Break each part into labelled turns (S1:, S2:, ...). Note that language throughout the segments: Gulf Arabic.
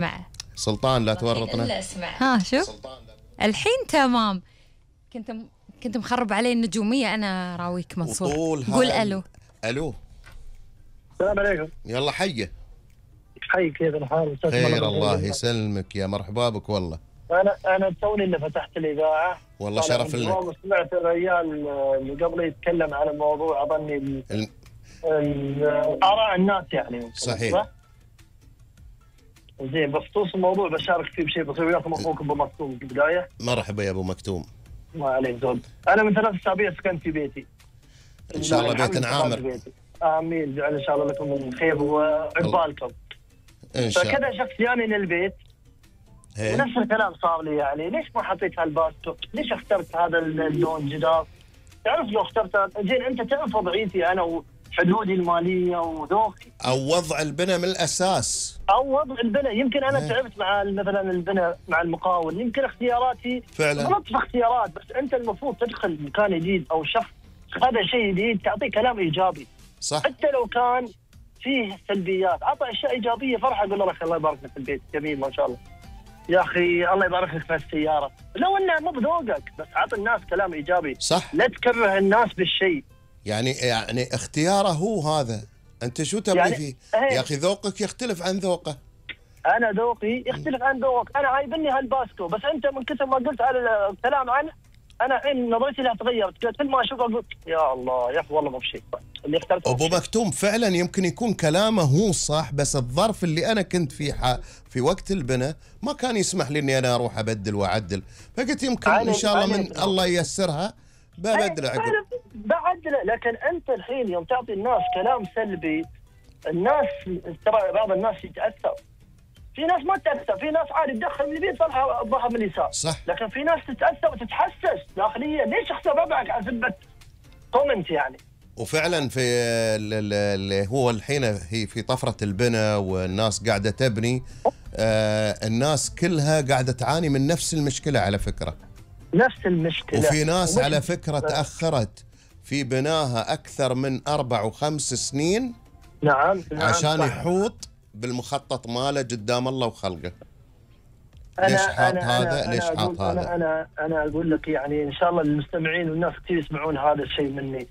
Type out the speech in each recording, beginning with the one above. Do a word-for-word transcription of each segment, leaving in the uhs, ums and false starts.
S1: معه
S2: سلطان لا تورطنا.
S1: ها شوف الحين تمام. كنت م... كنت مخرب علي النجومية أنا راويك منصور. قول ألو.
S2: ألو.
S3: السلام عليكم.
S2: يلا حيه.
S3: حي كيف الحال؟
S2: خير الله يسلمك يا مرحبا بك والله.
S3: أنا أنا توني اللي فتحت الإذاعة.
S2: والله شرف لنا.
S3: سمعت الرجال اللي قبل يتكلم عن الموضوع أظني ال... ال... آراء الناس يعني.
S2: صحيح.
S3: زين بخصوص الموضوع بشارك فيه بشيء بسيط. وياكم اخوكم ابو مكتوم في البدايه.
S2: مرحبا يا ابو مكتوم.
S3: ما عليك زود. انا من ثلاث اسابيع سكنت في بيتي.
S2: ان شاء الله بيت عامر.
S3: امين. جعل ان شاء الله لكم من خير وعقبالكم.
S2: ان شاء الله.
S3: فكذا شخص جاني للبيت ونفس الكلام صار لي يعني ليش ما حطيت هالباستو؟ ليش اخترت هذا اللون جدار؟ تعرف لو اخترت زين انت تعرف وضعيتي انا وحدودي الماليه وذوقي.
S2: او وضع البناء من الاساس.
S3: او وضع البناء يمكن انا تعبت مع مثلا البناء مع المقاول يمكن اختياراتي
S2: فعلا
S3: غلط في اختيارات. بس انت المفروض تدخل مكان جديد او شخص هذا شيء جديد تعطيه كلام ايجابي.
S2: صح.
S3: حتى لو كان فيه سلبيات اعطى اشياء ايجابيه فرحه قول له الله يبارك لك في البيت جميل ما شاء الله يا اخي الله يبارك لك في السياره. لو انها مو بذوقك بس اعطي الناس كلام ايجابي.
S2: صح.
S3: لا تكره الناس بالشيء.
S2: يعني يعني اختياره هو هذا. انت شو تبغي يعني فيه؟ ايه. يا اخي ذوقك يختلف عن ذوقه.
S3: انا ذوقي يختلف عن ذوقك. انا عايبني هالباسكو بس انت من كثر ما قلت على الكلام عنه انا الحين نظرتي له تغيرت. كل ما اشوفه اقول يا الله يا اخي والله مو بشيء اللي اخترته.
S2: ابو مكتوم فعلا يمكن يكون كلامه هو صح بس الظرف اللي انا كنت فيه في وقت البناء ما كان يسمح لي اني انا اروح ابدل واعدل. فقلت يمكن ان شاء الله من الله ييسرها ببدل عقب.
S3: بعدله. لكن انت الحين يوم تعطي الناس كلام سلبي الناس ترى بعض الناس يتاثر. في ناس ما تتاثر. في ناس عادي تدخل من اليمين تطلع الظهر من اليسار.
S2: صح.
S3: لكن في ناس تتاثر وتتحسس داخليا. ليش اخسر ربعك على سبه كومنت يعني؟
S2: وفعلا في اللي هو الحين هي في طفره البناء والناس قاعده تبني. آه الناس كلها قاعده تعاني من نفس المشكله على فكره.
S3: نفس المشكله.
S2: وفي ناس على فكره تاخرت في بناها اكثر من اربع وخمس سنين.
S3: نعم.
S2: عشان نعم. يحوط بالمخطط ماله قدام الله وخلقه. ليش حاط هذا؟ ليش حاط هذا؟
S3: انا انا انا اقول لك يعني ان شاء الله المستمعين والناس كثير يسمعون هذا الشيء مني.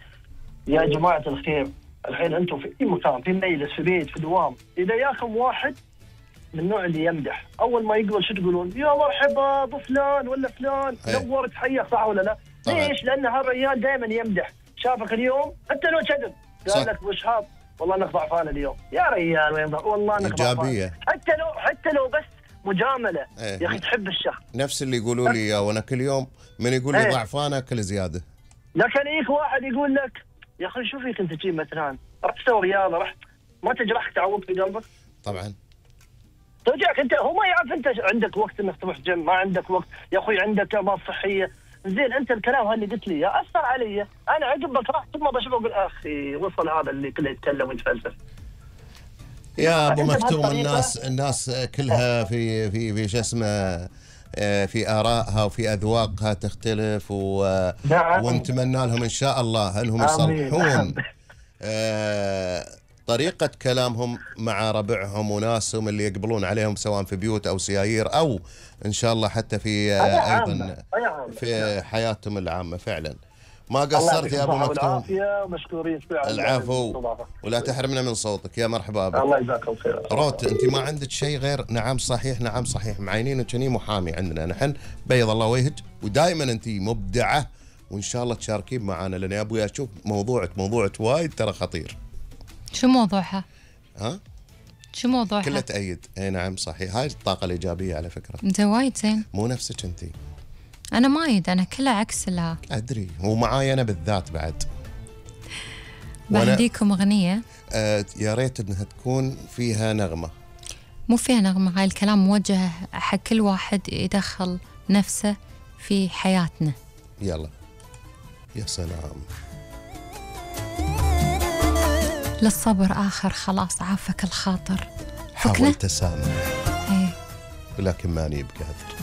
S3: يا جماعه الخير الحين انتم في اي مكان في مجلس في بيت في دوام اذا ياكم واحد من النوع اللي يمدح اول ما يقبل شو تقولون؟ يا مرحبا بفلان ولا فلان نورت حياك صح ولا لا؟ طبعا. ليش؟ لان هالرجال دائما يمدح. شافك اليوم حتى لو كذب قال لك وش هاب والله انك ضعفان اليوم يا رجال وين والله انك ضعفان. حتى لو حتى لو بس مجامله ايه. يا اخي تحب الشخص.
S2: نفس اللي يقولوا لي يا وانا كل يوم من يقول لي ايه. ضعفان اكل زياده.
S3: لكن يجيك واحد يقول لك يا اخي شو فيك انت تجيب مثلا رحت تسوي رياضه رحت ما تجرحك تعوض في قلبك؟
S2: طبعا.
S3: توجعك انت. هو ما يعرف انت عندك وقت انك تروح جيم ما عندك وقت يا اخوي عندك امراض صحيه. زين انت الكلام هاللي قلت لي يا اثر علي. انا عقبك راح ثم بشوفه اقول اخي وصل هذا اللي كله يتكلم ويتفلسف.
S2: يا ابو مكتوم الناس الناس كلها في في في شو اسمه في آرائها وفي أذواقها تختلف و... نعم. ونتمنى لهم إن شاء الله أنهم يصلحون آه طريقة كلامهم مع ربعهم وناسهم اللي يقبلون عليهم سواء في بيوت أو سيايير أو إن شاء الله حتى في آه أيضا في حياتهم العامة. فعلا ما قصرت يا أبو مكتوم.
S3: ومشكورين.
S2: العفو ولا تحرمنا من صوتك. يا مرحبا بك.
S3: الله يجزاكم خير.
S2: روت أنت ما عندك شيء غير نعم صحيح نعم صحيح معينين وكني محامي عندنا نحن بيض الله وجهك ودائما أنت مبدعة وإن شاء الله تشاركين معنا لأن أبوي أشوف موضوعك موضوعك وايد ترى خطير.
S1: شو موضوعها؟
S2: ها؟
S1: شو موضوعها؟
S2: كلها تأيد. اي نعم صحيح. هاي الطاقة الإيجابية على فكرة.
S1: أنت وايد زين.
S2: مو نفسك أنت.
S1: أنا ما أيد أنا كلها عكس لها.
S2: أدري ومعاي أنا بالذات بعد.
S1: بهديكم أغنية.
S2: آه يا ريت إنها تكون فيها نغمة.
S1: مو فيها نغمة. هاي الكلام موجه حق كل واحد يدخل نفسه في حياتنا.
S2: يلا. يا سلام.
S1: للصبر آخر خلاص عافك الخاطر.
S2: حاولت أسامح
S1: ايه
S2: ولكن ماني بقادر.